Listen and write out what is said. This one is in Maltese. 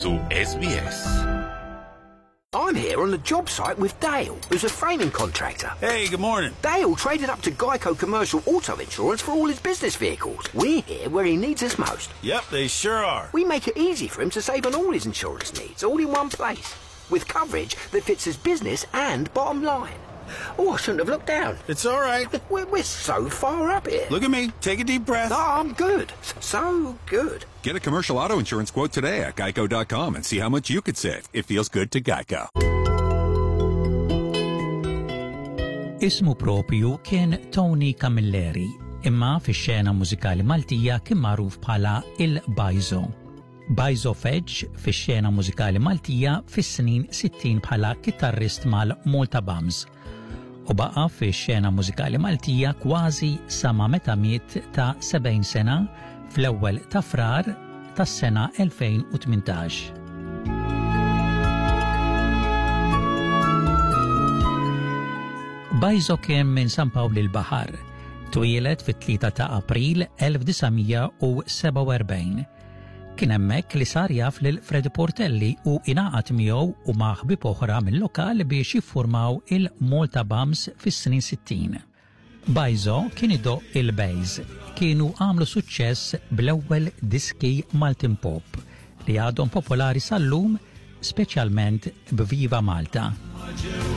su SBS. I'm here on the job site with Dale, who's a framing contractor. Hey, good morning. Dale traded up to Geico Commercial Auto Insurance for all his business vehicles. We're here where he needs us most. Yep, they sure are. We make it easy for him to save on all his insurance needs, all in one place, with coverage that fits his business and bottom line. Oh, I shouldn't have looked down. It's all right. We're, we're so far up here. Look at me. Take a deep breath. No, I'm good. So good. Get a commercial auto insurance quote today at geico.com and see how much you could save. It feels good to Geico. Ismu propju kien Tony Camilleri, imma fix-xena mużikali Maltija kien magħruf bħala il-Bajzo. Bajzo feġġ fix-xena mużikali Maltija fis-snin 60 bħala kitarrist mal-Malta Bums u baqa' fix-xena mużikali Maltija kważi sa ma meta miet ta' 70 sena fl-ewwel ta' Frar tas-sena 2018. Bajzo kien minn San Pawl il-Baħar. Twieled fit-3 ta' April 1947. Kien hemmhekk li sar jaf lil Freddie Portelli u ingħaqad miegħu u ma' ħbieb oħra mill-lokal biex jiffurmaw il-Malta Bums fis-snin 60. Bajzo kien idoqq il-bass. Kienu għamlu suċċess bl-ewwel diski Maltin Pop li għadhom popolari sal-lum speċjalment b'Viva Malta.